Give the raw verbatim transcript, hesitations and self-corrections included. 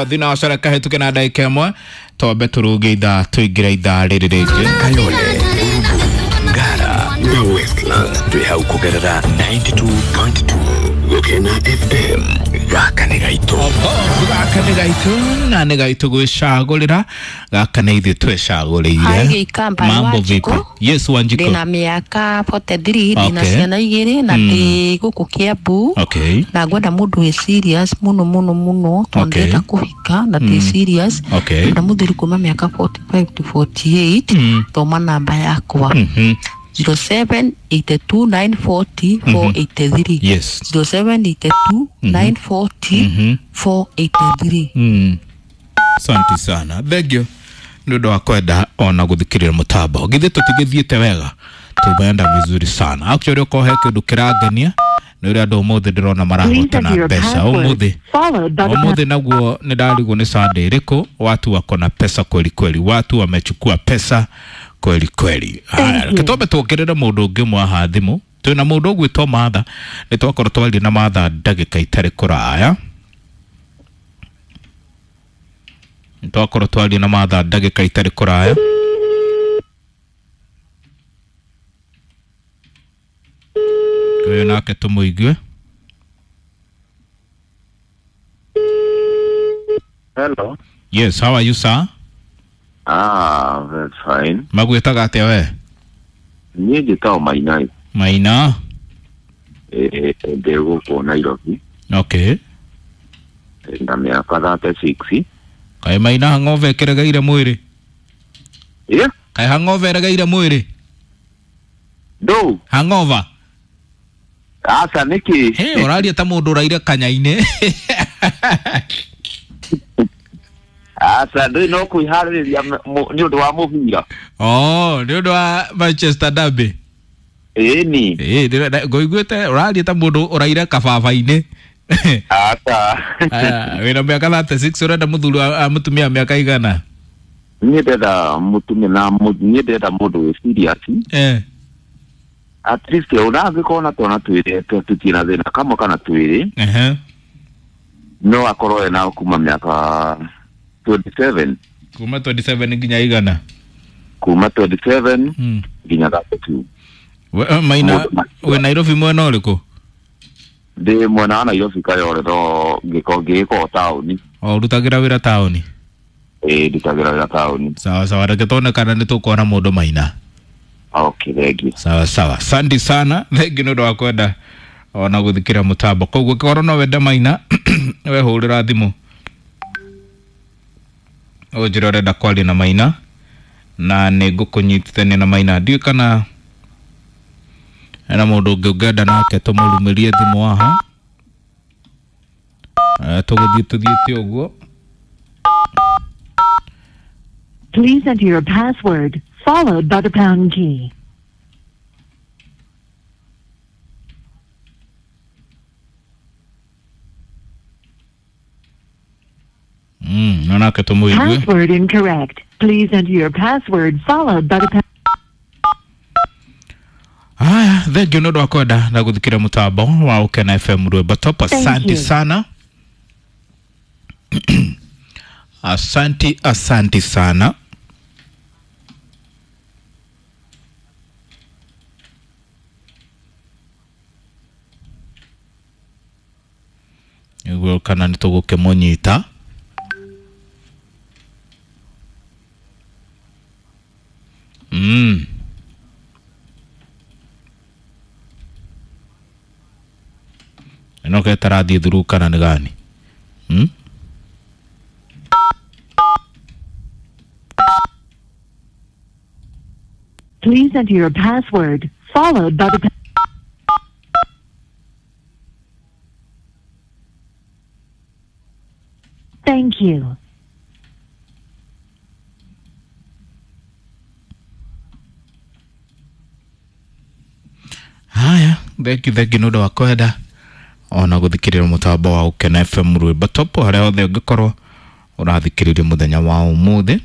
Thinacara kahĩtũke na ndagĩka ĩmwe twambe tũrũge ithaa tũingĩre ithaa rĩrĩ rĩngĩ. Kayole, Urbu, Ngara na Westlands twĩ hau kũgerera ninety-two point two Gũkena F M. Gaka nĩ gaitũ. Gaka nĩ gaitũ na nĩ gaitũ gwĩcagũrĩra. Gaka nĩ ithuĩ twĩcagũrĩire. Hi, Gĩikamba, Mambo Wanjikũ. vipi? Yes, Wanjikũ. Ndĩna mĩaka forty-three, ndĩna Okay. ciana igĩrĩ na ndĩ gũkũ Kiambu. Okay. Na ngwenda mũndũ wĩ serious mũno mũno mũno tondũ Okay. ndĩrenda kũhika na ndĩ serious. Okay. Na mũthuri kuma mĩaka forty-five to forty-eight. Mm. Thoma namba yakwa. Mhm. zero seven eight two nine forty four eight three. Yes. zero seven eight two nine forty Mhm. four eight three. Mm. Asante sana. Thank you. Nĩ ũndũ wa kwenda ona gũthikĩrĩria mũtambo. Githĩ tũtigĩthiĩte wega? Tumeenda vizuri sana. Actually okorwo he kĩndũ kĩrangenia nĩ ũrĩa andũ ũmũthĩ ndĩrona marahotana mbeca ũmũthĩ. Ũmũthĩ naguo nĩ ndarigwo nĩ Sunday ĩrĩkũ, watu wako na pesa kweli kweli, watu wamechukua pesa kweli kweli. Haya, reke twambe tuongerere mũndũ ũngĩ ũmwe haha thimũ. Twĩna mũndũ ũgwĩtwo Martha, nĩ twakorwo twaria na Martha ndagĩka itarĩ kũraya. Nĩ twakorwo twaria na Martha ndagĩka itarĩ kũraya. Ũyũ nake tũmũigue. Hello. Yes, how are you sir? Ah, that's fine. Magwĩtaga atĩa we? Niĩ njĩtagwo Mainai. Maina. Eh, ndĩ gũkũ Nairobi. Okay. Na mĩaka thirty-six. Kaĩ Maina hangover ĩkĩregeire mwĩrĩ? Yeah. Kaĩ hangover ĩregeire mwĩrĩ? Ndũ? Hangover. Aca nĩkĩ? Hey, ũraria ta mũndũ ũraire kanya-inĩ. Aca ndũĩ no kwĩharĩrĩria nĩ ũndũ wa mũbira. Oh, nĩ ũndũ wa Manchester Derby. Ĩni. Ĩĩ, ngũiguĩte ũraria ta mũndũ ũraire kababa-inĩ. Aca. Aya, wĩna mĩaka thirty-six ũrenda mũthuri wa mũtumia mĩaka igana? Niĩ ndĩrenda mũtumia na niĩ ndĩrenda mũndũ wĩ serious. Eh. At least ona angĩkorwo na twana twĩrĩ tũtirĩ na thĩna kamwe kana twĩrĩ. Ehe. No akorwo ena kuma mĩaka twenty-seven. Kuma twenty-seven nginya igana? Kuma twenty-seven Mm. nginya thirty-two. We, Maina, we Nairobi mwena ũrĩkũ? Ndĩ mwena wa Nairobi Kayole no ngĩkorwo ngĩgĩkorwo taũni. O ũrutagĩra wĩra taũni? Ĩĩ, ndutagĩra wĩra taũni. Sawa sawa, reke tuone kana nĩ tũkuona mũndũ Maina. Okay, thank you. Sawa sawa. Asante sana. Thank you nĩ ũndũ wa kwenda ona gũthikĩra mũtambo. Koguo ũngĩkorwo no wende Maina, we hũrĩra thimũ. Ũnjĩre ũrenda kwaria na Maina na nĩ ngũkũnyitithania na Maina. Ndiũĩ kana hena mũndũ ũngĩ ũngĩenda nake tũmũrumĩrie thimũ haha. Tũgũthiĩ tũthiĩte ũguo. Please enter your password followed by the pound key. Mm, no nake tũmũigue. Password incorrect. Please enter your password followed by the pound. Haya, thank you nĩ ũndũ wa kwenda na gũthikĩra mũtambo wa Ũkena F M Rwĩmbo Top. Asante sana. Asante, asante sana. Nĩguo kana nĩ tũgũkĩmũnyita. Mm. Ĩno ketarathiĩ through kana nĩ gani? Mm? Please enter your password followed by the Thank you. Haya, thank you, thank you nĩ ũndũ wa kwenda ona gũthikĩrĩria mũtambo wa Ũkena F M Rwĩmbo Top harĩa hothe ũngĩkorwo ũrathikĩrĩria mũthenya wa ũmũthĩ.